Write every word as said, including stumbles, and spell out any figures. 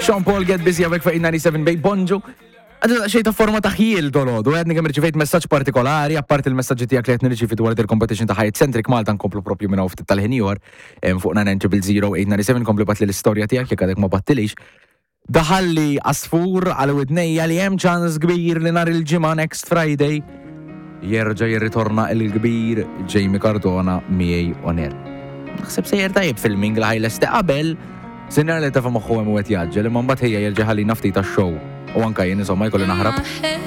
Sean Paul, Get Busy, hawnhekk fuq eight ninety-seven Babe. Bonġu. Għadu xejn ta' forma ta' ħjiel dolodu, għadni kemm rċivejt messaġġ partikolari, apart il-messaġġi tiegħek li qed nirċivi dwar il-competition ta' Hyatt Centric Malta, nkomplu propju minn hawn ftit tal-ħin ieħor fuq nine zero zero eight nine seven, kompli ibgħatli l-istorja tiegħek jekk għadek ma bgħattlix. Daħalli għasfur għal widnejja li hemm ċans kbir li nhar il-Ġimgħa, next Friday, jerġa' jirritorna il-kbir Jamie Cardona miegħi on air. Naħseb sejjer tajjeb filming li ħa jlesti qabel. Sinjar li tafa moħħu hemm u qed jaġġel, imma mbagħad ħejja jerġa' ħallina ftit tax-show. U anka jien insomma jkolli naħrab.